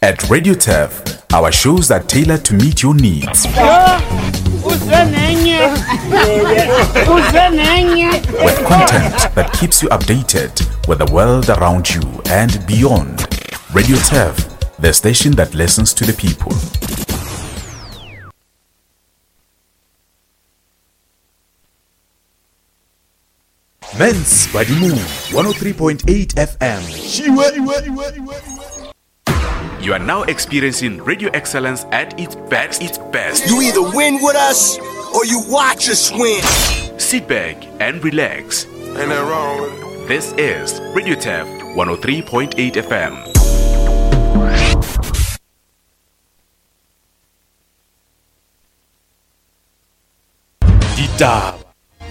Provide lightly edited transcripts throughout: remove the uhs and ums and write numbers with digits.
At Radio Turf, our shows are tailored to meet your needs. With content that keeps you updated with the world around you and beyond. Radio Turf, the station that listens to the people. Mens Badimong 103.8 FM. You are now experiencing radio excellence at its best. Its best. You either win with us or you watch us win. Sit back and relax. Ain't that wrong with it? This is Radio Tef 103.8 FM. Ditaba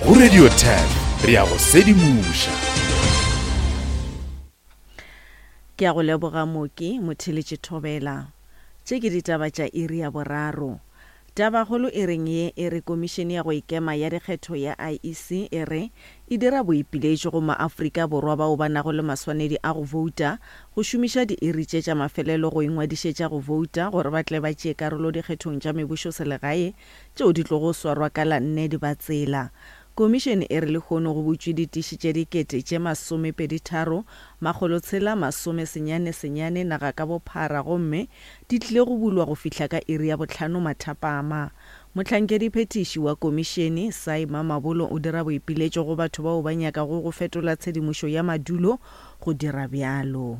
go Radio 10 re ya go sedimoša. Ke a go leboga Mooki Motheletše Thobela. Tše ke ditaba tša iri ya boraro. Tabakgolo e reng ye e re Komišene ya go Ikema ya Dikgetho ya IEC e re e dira boipiletšo go maAfrika Borwa bao ba nago le maswanedi a go bouta go šomiša diiri tše tša mafelelo go ingwadišetša go bouta gore ba tle ba tšee karolo dikgethong tša mebušoselegae tšeo di tlogo swarwa ka la nne Dibatsela. Komišene e re lehono go butšwe ditiši tše dikete tše masomepeditharo, makgolotshela masomesenyane senyane naga ka bophara gomme di tlile go bulwa go fihla ka iri ya bohlano mathapama. Mohlankediphethiši wa komišene, Saima Mabolo o dira boipiletšo go batho bao ba nyakago go fetola tshedimošo ya madulo go dira bjalo.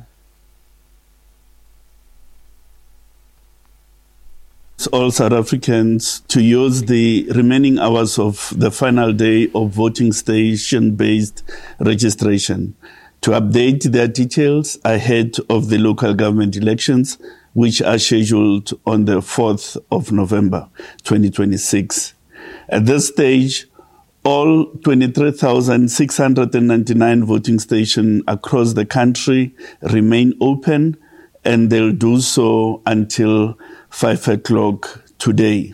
All South Africans to use the remaining hours of the final day of voting station-based registration to update their details ahead of the local government elections, which are scheduled on the 4th of November 2026. At this stage, all 23,699 voting stations across the country remain open and they'll do so until 5 o'clock today.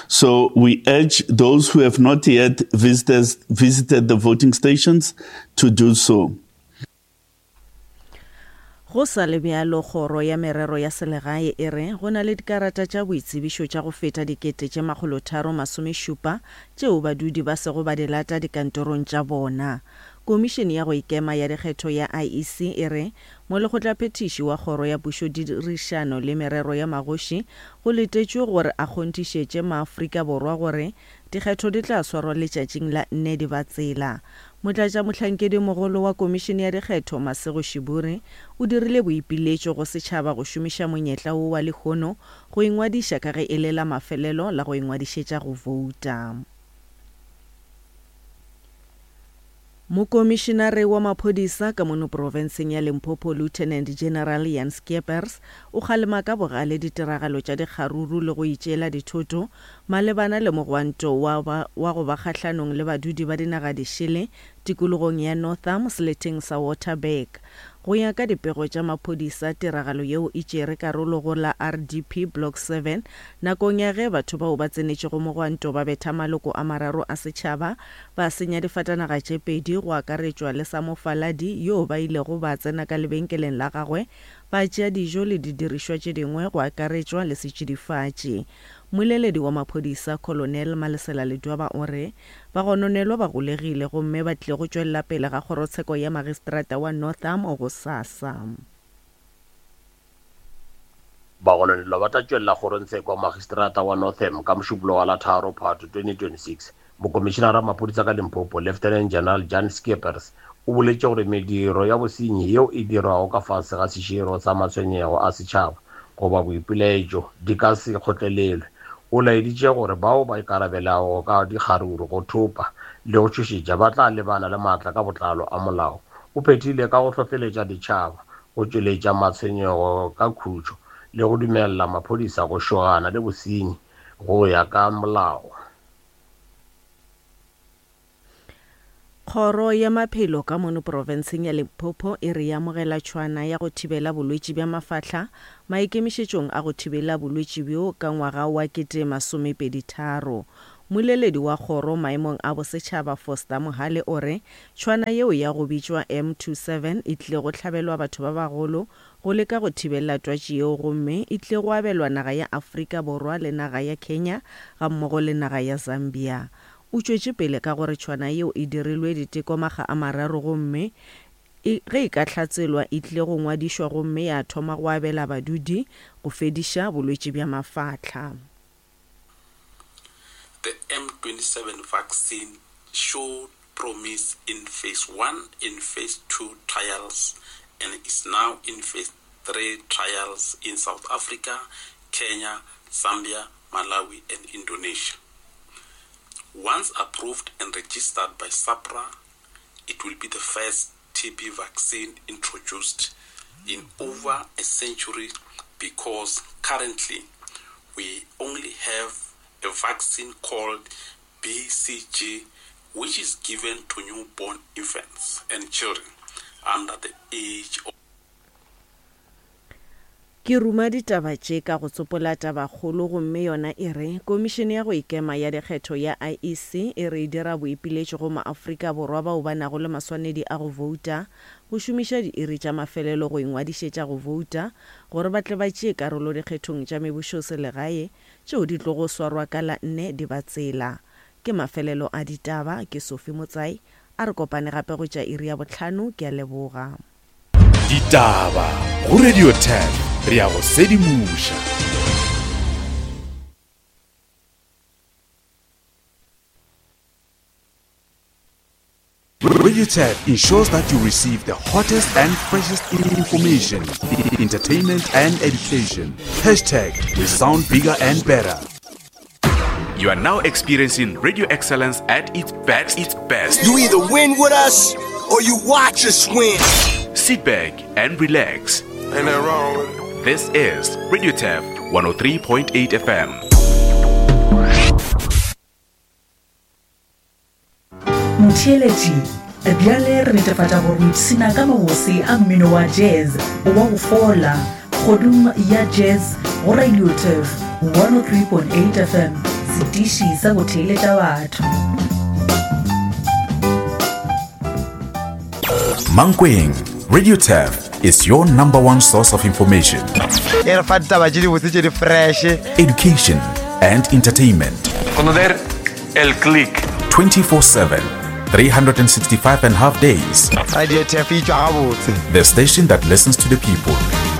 So we urge those who have not yet visited, visited the voting stations to do so. Go sa le bjalo, Kgoro ya Merero ya Selegae e re go na le dikarata tša boitsebišo tša go feta 370 tšeo badudi ba sego ba di lata dikantorong tša bona. Komišene ya go Ikema ya Dikgetho ya IEC e re Molekgotlaphethiši wa Kgoro ya Pušodirišano le Merero ya Magoši go letetšwe gore a kgonthišetše maAfrika Borwa gore dikgetho di tla swarwa letšatšing la nne Dibatsela. Motlatšamohlankedimogolo wa Komišene ya Dikgetho, Masego Shiburi, o dirile boipiletšo go setšhaba go šomiša monyetla wo wa lehono go ingwadiša ka ge e le la mafelelo la go ingwadišetša go bouta. Mokomišenare wa maphodisa ka mono profenseng ya Limpopo Lieutenant General Jan Scheepers o kgalema ka bogale ditiragalo tša dikgaruru le go itšeela dithoto malebana le mogwanto wa wa go ba kgahlanong le badudi ba dinaga dišele tikologong ya Northam seleteng sa Waterberg. Go ya ka dipego tša maphodisa, tiragalo yeo e tšere karolo go la RDP Block 7 nakong ya ge batho bao ba tsenetšego mogwanto ba betha maloko a mararo a setšhaba ba senya difatanaga tše pedi go akaretšwa le sa mofaladi yoo ba ilego ba tsena ka lebenkeleng la gagwe ba tšea dijo le didirišwa tše dingwe go akaretšwa le setšidifatši. Mmoleledi wa maphodisa Colonel Malesela Ledwaba o re bagononelwa ba golegile gomme ba tlile go tšwelela pele ga kgorotsheko ya magistrata wa Northam gosasa. Bagononelwa ba tla tšwelela kgorongtsheko ya Magistrata wa Northam ka Mošupologo wa la tharo Phato 2026. Mokomišenara wa maphodisa ka Limpopo, Lieutenant General Jan Scheepers, o boletše gore mediro ya bosenyi yeo e dirwago ka fase ga seširo sa matshwenyego a setšhaba goba boipilaetšo di ka se kgotlelelwe. O laeditše gore bao ba ikarabelago ka dikgaruru, go thopa le go tšhošetša ba tla lebana le maatla ka botlalo a molao. O phethile ka go hlohleletša ditšhaba go tšweletša matshwenyego ka khutšo le go dumelela maphodisa go šogana le bosenyi go ya ka molao. Kgoro ya Maphelo ka mono profenseng ya Limpopo e re e amogela tšhwana ya go thibela bolwetši bja mafahla maikemišetšong a go thibela bolwetši bjo ka ngwaga wa 2023. Mmoleledi wa kgoro maemong a bosetšhaba Foster Mohale o re tšhwana yeo ya go bitšwa M27 e tlile go hlabelwa batho ba bagolo go leka go thibella twatši yeo gomme e tlile go abelwa naga ya Afrika Borwa le naga ya Kenya gammogo le naga ya Zambia. O tšwetše pele ka gore tšhwana yeo e dirilwe diteko makga a mararo gomme e ge e ka hlatselwa e tlile go ngwadišwa gomme ya thoma go abela badudi go fediša bolwetši bja mafahla. The M27 vaccine showed promise in phase 1 and phase 2 trials and is now in phase 3 trials in South Africa, Kenya, Zambia, Malawi and Indonesia. Once approved and registered by SAPRA, it will be the first TB vaccine introduced in over a century because currently we only have a vaccine called BCG, which is given to newborn infants and children under the age of Ke ruma ditaba tše ka go tsopola tabakgolo gomme yona e re, Komišene ya go Ikema ya Dikgetho ya IEC e re e dira boipiletšo go maAfrika Borwa bao ba nago le maswanedi a go bouta go šomiša diiri tša mafelelo go ingwadišetša go bouta gore ba tle ba tšee karolo dikgethong tša mebušoselegae tšeo di tlogo swarwa ka la nne Dibatsela. Ke mafelelo a ditaba, ke Sophie Motsai. A re kopane gape go tša iri ya bohlano, ke a leboga. Ditaba go Radio 10 re a go sedimoša. Radio 10 ensures that you receive the hottest and freshest information, entertainment and education. Hashtag we sound bigger and better. You are now experiencing radio excellence at its best. Its best. You either win with us or you watch us win. Sit back and relax. Ain't nothing wrong with it. This is Radio Tef 103.8 FM. Motheeletši, bjale re netefatša gore o ipshina ka mabose a mmino wa jazz wa go fola kgodung ya jazz go Radio Turf 103.8 FM, setiši sa go theeletša batho. Mankweng, Radio Turf is your number one source of information. E re fa ditaba tše dibotse tše di fresh. Education and entertainment. Conocer el click. 24/7, 365 and half days. Radio Turf e tšwa gabotse. The station that listens to the people.